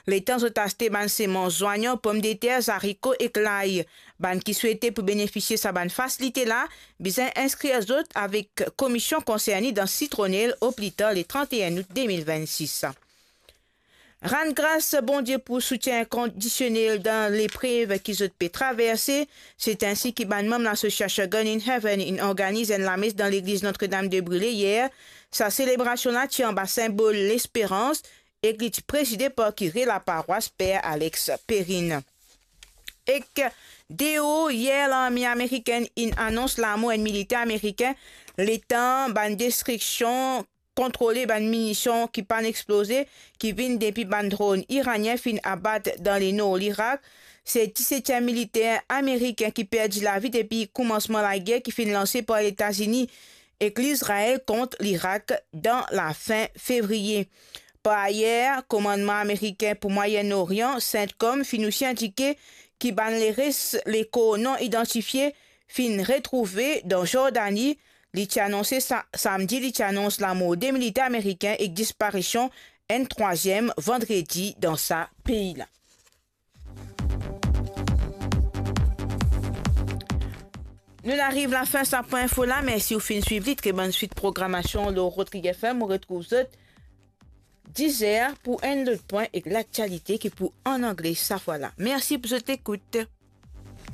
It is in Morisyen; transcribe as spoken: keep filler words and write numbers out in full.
letan zot aste bann semans zwanyan, pomdeter, zariko ek lay. Bann ki swete pou benefisie sa bann fasilite la, bizin inskrir zot avek komisyon konserne dan Citronelle o pli tar le trant-e-enn out de mil vennsis. Rann gras Bondie pou soutien inkondisionel dan leprev ki zot pe traverse. Se ensi ki bann manm lasosiasion Gun in Heaven inn organiz enn lames dan legliz Notre-Dame de Brûlé yer. Sa selebrasion la ti anba sinbol lesperans ek li ti prezide par kire laparwas Per Alex Perrin. Ek deor, yer larme amerikenn inn anons lamor enn militer ameriken, letan bann destriksion kontrole bann minision ki pa'nn exploze, ki vinn depi bann dronn iranien finn abat dan lenor Lirak. Se disetem militer ameriken ki perdi lavi depi koumansman lager ki finn lanse par Letazini ek Lizrael kont Lirak dan lafin fevriye. Par ayer, komannman ameriken pou Mwayen Orian, CENTCOM, finn osi indike ki bann leres lekor non idantifie finn retrouve dan Zordani. Li ti anonse sa-, samdi, li ti anons lamor de militer ameriken ek disparision enn trwaziem vandredi dan sa pei la. Nou'nn ariv lafin sa pwin info la. Mersi ou finn swiv li. Tre bonn swit programasion lor Rodrigue F M. Ou retrouv zot diz er pou enn lot pwin ek laktialite ki pou an angle sa fwa la. Mersi pou zot lekout.